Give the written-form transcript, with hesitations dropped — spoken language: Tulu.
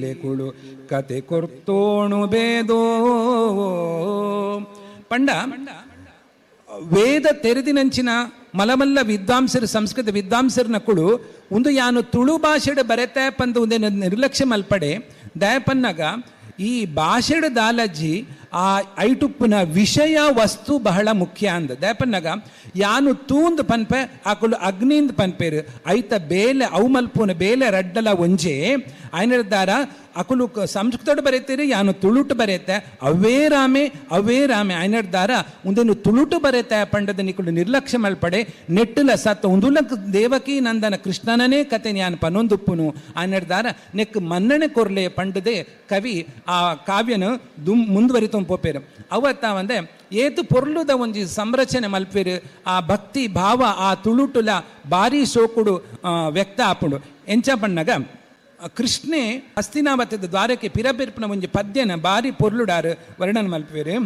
ಲೆಕುಳು ಕತೆ ಕೊರ್ತೋಣು ಬೇದೋ. ಪಂಡ ವೇದ ತೆರೆದಿನಂಚಿನ ಮಲಮಲ್ಲ ವಿದ್ವಾಂಸರು, ಸಂಸ್ಕೃತ ವಿದ್ವಾಂಸರನ ಕುಳು ಉಂದು ಯಾನು ತುಳು ಭಾಷೆಡ್ ಬರೆತೆ ಪಂದು ಉಂದೇನು ನಿರ್ಲಕ್ಷ್ಯ ಮಲ್ಪಡೆ. ದಯಪನ್ನಗ ಈ ಭಾಷೆಡ್ ದಾಲಜ್ಜಿ ಆ ಐಟುಪ್ಪುನ ವಿಷಯ ವಸ್ತು ಬಹಳ ಮುಖ್ಯ ಅಂದ. ದಯಪನ್ನಗ ಯಾನು ತೂಂದು ಪನ್ಪೆ, ಆಕುಲು ಅಗ್ನಿಂದ್ ಪನ್ಪೇರು, ಐತ ಬೇಲೆ ಅವು ಮಲ್ಪುನ ಬೇಲೆ ರಡ್ಡಲ ಒಂಜೆ. ಆಯ್ನದಾರ ಅಕುಲು ಸಂಸ್ಕೃತಡ್ ಬರೆತೀರಿ, ಯಾನು ತುಳುಟು ಬರೆತೆ, ಅವೇ ರಾಮೆ ಅವೇ ರಾಮೆ. ಆಯ್ನದಾರ ಉಂದೇನು ತುಳುಟು ಬರೆತೆ ಪಂಡದ ನಿಕುಲು ನಿರ್ಲಕ್ಷ್ಯ ಮಲ್ಪಡೆ. ನೆಟ್ಟುಲ ಸತ್ತ ಉಂದುಲ ದೇವಕಿ ನಂದನ ಕೃಷ್ಣನೇ ಕತೆ ಯಾನು ಪನೊಂದುಪ್ಪುನು. ಆಯ್ನದಾರ ನೆಕ್ ಮನ್ನಣೆ ಕೊರ್ಲೆ ಪಂಡದೆ ಕವಿ ಆ ಕಾವ್ಯನು ದುಂ ಮುಂದುವರಿತು ಪೋಪೇರು. ಅವತ್ತ ಒಂದೆ ಏತು ಪೊರ್ಲುದ ಒಂಜಿ ಸಂರಚನೆ ಮಲ್ಪೇರು. ಆ ಭಕ್ತಿ ಭಾವ ಆ ತುಳುಟುಲ ಬಾರಿ ಸೋಕುಡು ವ್ಯಕ್ತ ಆಪುಂಡು. ಎಂಚ ಪಣ್ಣಗ ಕೃಷ್ಣೆ ಹಸ್ತಿನಾವತಿದ ದ್ವಾರಕ್ಕೆ ಪಿರಪಿರ್ಪುನ ಒಂಜಿ ಪದ್ಯನ ಬಾರಿ ಪೊರ್ಲುಡಾರು ವರ್ಣನ ಮಲ್ಪೇರು.